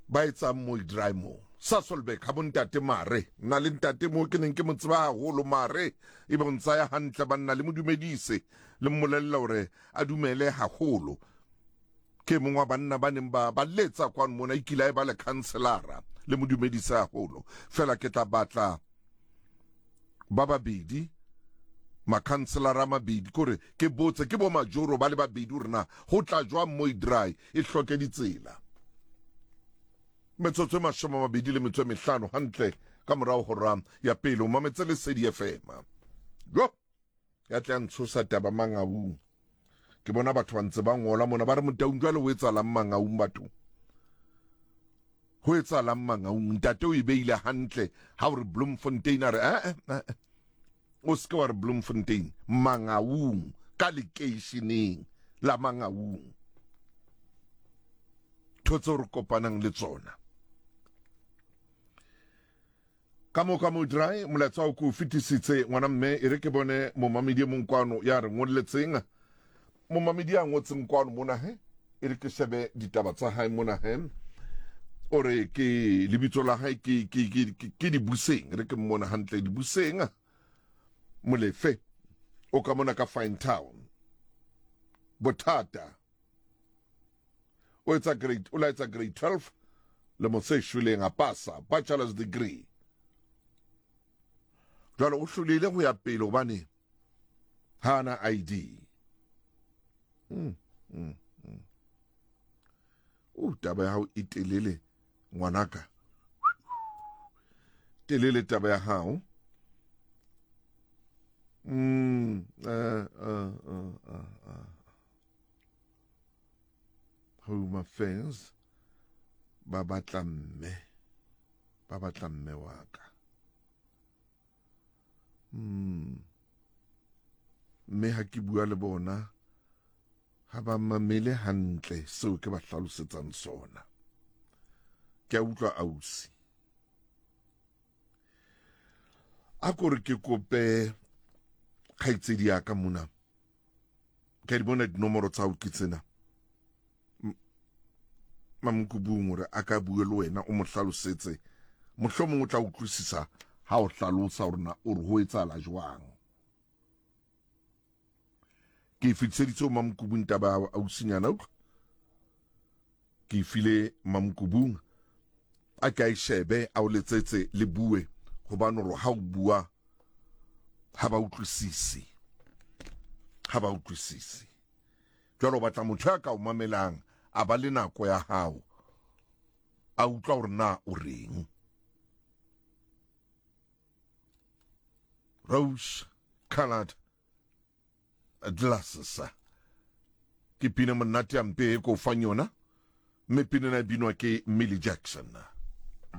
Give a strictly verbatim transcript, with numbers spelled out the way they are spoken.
Ba etsang mo dry mo Sasolburg ha bontate mare nna le ntate mo ke neng ke mo tseba haholo mare e be o ntsaya hantle banna le mo dumedise le mmolella hore a dumele haholo. Ke mongwe wa banna ba neng ba ba letsa kwano mona e kile a e ba le councilora le mo dumedise haholo. Fela ke tla batla ba babedi makhanselara a mabedi kore ke botse ke bo majoro ba le babedi hore na ho tla jwang mo dry e hloke ditsela. Metsotso e mashome a mabedi le metso e mehlano hantle ka morao hora ya pele o mametse Lesedi F M. Jo ya tla ntshosa taba Mangaung. Ke bona batho ba ntse ba ngola mona ba re Motaung jwale ho etsahalang Mangaung batho. Ho etsahalang Mangaung ntate o e beile hantle ha o re Bloemfontein a re eh eh o se ke wa re Bloemfontein Mangaung ka lekeisheneng la Mangaung. Ntho tseo re kopanang le tsona. Ka mo ka mo dry molaetsa o ko fetisitse ngwana mme e re ke bone momamedi e mong kwano ya re ngolletseng. Momamedi ya ngotseng kwano mona he e re ke shebe ditaba tsa hae mona he. O re ke lebitso la hae ke ke ke ke Dibuseng, re ke mmona hantle Dibuseng Molefe o ka mona ka Fine Town. Bothata o etsa grade o la etsa grade twelve le mo se shweleng a pasa bachelor's degree. Jwale o hlolehile ho ya pele hobane ha ana I D. Mm, mm, mm. O taba ya hao e telele ngwanaka. Telele taba ya hao. Mm, uh, uh, uh, uh, uh. Home Affairs ba batla mme, ba batla mme wa ka. Mm. Mme ha ke bua le bona ha ba mamele hantle seo ke ba hlalosetsang sona. Ke a utlwa ausi. A ko re ke kope kgaitsedi ya ka mona. Ke di bona dinomoro tsa hao ke tsena. Mamokubung hore a ka bue le wena o mo hlalosetse. Mohlomong o tla utlwisisa ha o hlalosa hore na o re ho etsahala jwang. Ke e fetiseditse ho Mamokubung taba ya ausinyana, utlwa. Ke e file Mamokubung a ke a e shebe a o letsetse le bue hobane hore ha o bua ha ba utlwisise. Ha ba utlwisise. Jwale o batla motho ya ka o mamelang a ba le nako ya hao a utlwa hore na o reng. Rose colored glasses ke pina monate ya mpe e ko fang yona mme pina ena e binwa ke Millie Jackson.